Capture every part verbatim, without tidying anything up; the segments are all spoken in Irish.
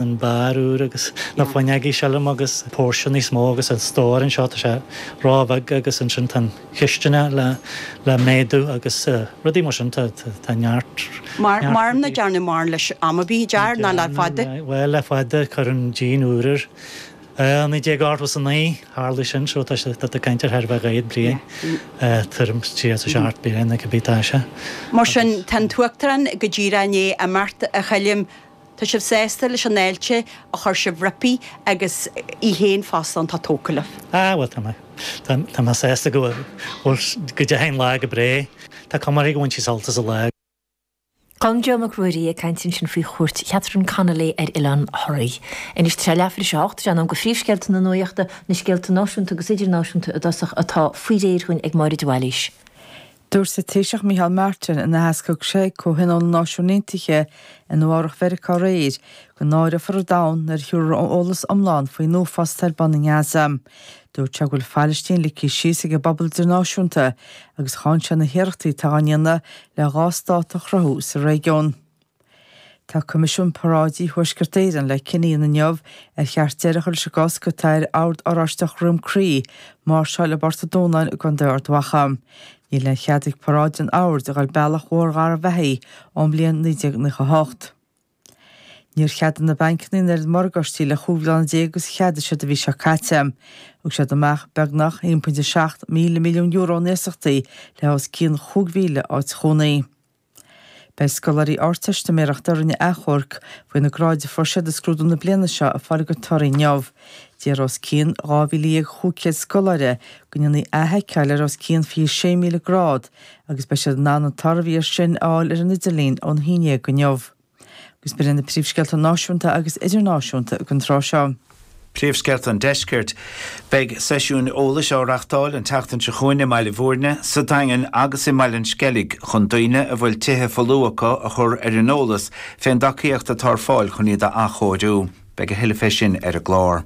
An beár úr agus na fuinneogaí sílim agus póirse níos mó agus an stór anseo tá sé róbheag agus ansin tá an chistin le le méadú agus rudaí mar sin tá tá neart. Mar mar na dearnadh mar leis am ar bith dear ná le fada? Bhuel le fada cuireadh an díon úr air. Naoi déag ochtó is a naoi tharla sin so tá sé tá tú ag caint ar thar a bheith dhá chéad bliain tuairim tríocha a seacht bliain nó cibé tá sé. Mar sin tá an tUachtarán go díreach i ndiaidh imeacht a Choilm. Tá sibh sásta leis an fháilte a chuir sibh roimpi agus í féin fosta tá tógtha libh. Ah bhuel tá mé tá mé sásta go bhfuil go dteachaigh an lá go breá. Tá cuma uirthi go bhain sí sult as an lá. Colm Joe Mac Ruairí ag caint ansin faoi chuairt Chatherine Connolly ar Oileán Thoraí. Anois tá sé leathuair tar éis a hocht, sé an am do phríomhscéalta na nuachta, na scéalta náisiúnta agus idirnáisiúnta i dtosach atá faoi réir dhúinn ag Máire de Bhailís. Dúirt an Taoiseach Micheál Martin in aitheasc a thug sé ag Comhthionól na Náisiún Aontaithe i Nua Eabhrac Mheiriceá aréir go náireofar an domhan nuair a thabharfar eolas iomlán faoin uafás atá ar bun i nGaza. Dúirt sé go bhfuil Phailistín ligthe síos ag an bpobal idirnáisiúnta agus cháin sé na hiarrachtaí atá á ndéanamh le dhá stát a chruthú sa réigiún. Tá Coimisiún Paráidí Thuaisceart Éireann le cinneadh a dhéanamh inniu ar cheart deireadh a chur leis an gcosc atá ar Ord Oráisteach Dhroim Crí máirseáil i bPort an Dúnáin i gContae Ard Mhacha. Níl aon chead ag paráid an Oird a dhul bealach Bhóthar Gharbhachaidh ón mbliain naoi déag nócha a hocht. Níor cheadaigh na bancanna an oiread morgáistí le chúig bhliana déag agus a cheadaigh siad an mhí seo caite. Thug siad amach beagnach a haon pointe seacht míle milliún euro in iasachtaí le os cionn chúig mhíle áit chónaí. Beidh scoláirí Ardteistiméireachta a rinne achomharc faoi na gráid a fuair siad i scrúdú na bliana seo ag fáil a gcuid torthaí inniu. D'iarr os cionn dhá mhíle dhéag chúig chéad scoláire go ndéanfaí athsheiceáil ar os cionn fiche sé míle grád agus beidh siad in ann an toradh a bhí air sin a fháil ar an idirlíon ón haon déag inniu. Agus b'in iad na príomhscéalta náisiúnta agus idirnáisiúnta ag an tráth seo. Príomhscéalta an Deiscirt. Beidh seisiúin eolais á reáchtáil an tseachtain seo chugainn i mBaile Bhúirne, sa Daingean agus i mBaile an Sceilg chun daoine a bhfuil tithe folmha acu a chur ar an eolas fén dtacaíocht atá ar fáil chun iad a athchóiriú. Beidh a thuilleadh fé sin ar an gclár.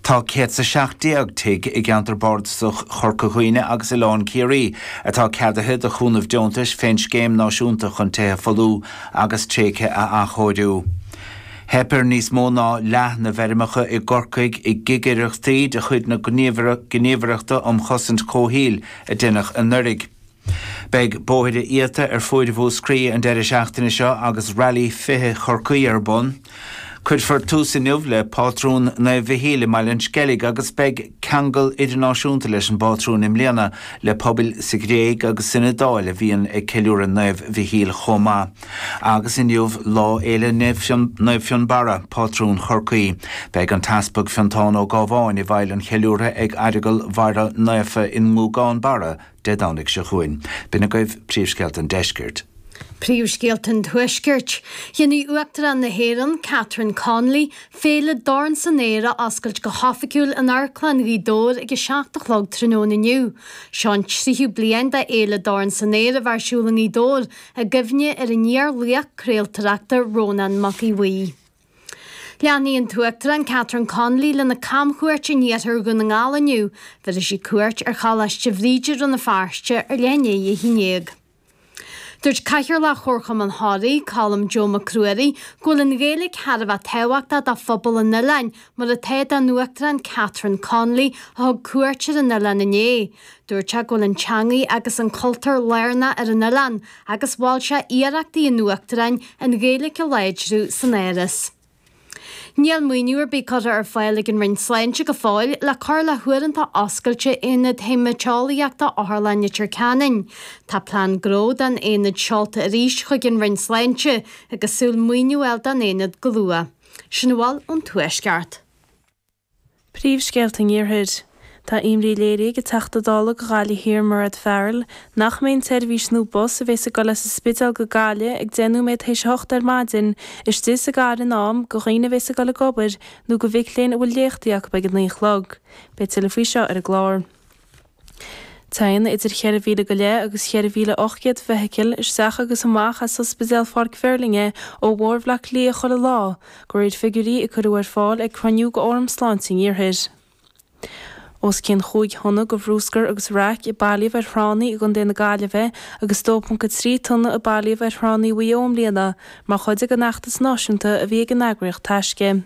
Tá céad 's a seacht déag tigh i gceantar bardasach Chorca Dhuibhne agus Oileán Ciarraí atá ceadaithe do chúnamh deontais fén Scéim Náisiúnta chun Tithe Folmha agus Tréigthe a Athchóiriú. Theip ar níos mó ná leath na bhfeirmeacha i gCorcaigh i gcigireachtaí de chuid na Gníomhaireachta um Chosaint Comhshaoil a deineadh anuraidh. Beidh bóithre iata ar fuaid Mhúscraí an deireadh seachtaine seo agus Rally fiche Chorcaí ar bun. Cuirfear tús inniu le Pátrún Naomh Mhichíl i mBaile an Sceilg agus beidh ceangal idirnáisiúnta leis an bpátrún i mbliana le pobail sa Ghréig agus san Iodáil a bhíonn ag ceiliúradh Naomh Mhichíl chomh maith. Agus inniu Lá Fhéile Naomh Fionnbarra, pátrún Chorcaí. Beidh an tEaspag Fiontán Ó Gábháin i bhfeighil an cheiliúrtha ag Aireagal Mhuire Naofa i nGúgán Barra Dé Domhnaigh seo chugainn. B'in agaibh príomhscéalta an deiscirt. Príomhscéalta an Tuaiscirt. Déanfaidh Uachtarán na hÉireann, Catherine Connolly, Féile Dorn san Aer a oscailt go hoifigiúil in Amharclann Ghaoth Dobhair ag a seacht a chlog tráthnóna inniu. Seo an tríú bliain de Fhéile Dorn san Aer a bheith ar siúl i nGaoth Dobhair i gcuimhne ar an iar-laoch craoltóireachta Rónán Mac Aodha Bhuí. Leanfaidh an tUachtarán Catherine Connolly lena camchuairt in iarthar Dhún na nGall inniu. Bhéarfaidh sí cuairt ar Choláiste Bhríde Rann na Feirste ar leath i ndiaidh a haon déag. Dúirt Cathaoirleach Chomharchumann Thoraí, Colm Joe Mac Ruairí, go bhfuil an Ghaeilge thar a bheith tábhachtach do phobal an oileáin, mar atá don Uachtarán Catherine Connolly a thug cuairt ar an oileán inné. Dúirt sé go bhfuil an teangaidh agus an cultúr lárnach ar an oileán agus mhol sé iarrachtaí an Uachtaráin an Ghaeilge a láidriú san Áras. Níl maoiniú ar bith curtha ar fáil ag an Roinn Sláinte go fóill le cur le huaireanta oscailte Aonad Haemaiteolaíochta Otharlann Leitir Ceanainn. Tá plean gnó don aonad seolta arís chuig an Roinn Sláinte agus súil maoiniú a fháil don aonad go luath. Sin a bhfuil ón Tuaisceart. Príomhscéalta an Iarthair. Tá imní léirithe ag an Teachta Dála do Ghaillimh Thiar Mairéad Farrell nach mbeidh an tseirbhís nua bus a bheas ag dul as an Spidéal go Gaillimh ag deich nóiméad théis a hocht ar maidin istigh sa gcathair in am do dhaoine a bheas ag dul ag obair nó do mhic léinn a bhfuil léachtaí acu ag a naoi a chlog. Beidh tuilleadh faoi seo ar an gclár. Téann idir cheithre mhíle go leith agus cheithre mhíle ocht gcéad feithicil isteach agus amach as Ospidéal Pháirc Mheirlinne ó Bhóthar Bhaile Átha Cliath chuile lá, de réir figiúirí a cuireadh ar fáil ag cruinniú de Fhóram Sláinte an Iarthair. Os cionn chúig thonna de bhrúscar agus raic a bailíodh ar thránna i gContae na Gaillimhe agus dó ponc a trí tonna a bailíodh ar thránna Mhaigh Eo i mbliana mar chuid den fheachtas náisiúnta a bhí ag an eagraíocht Taisce.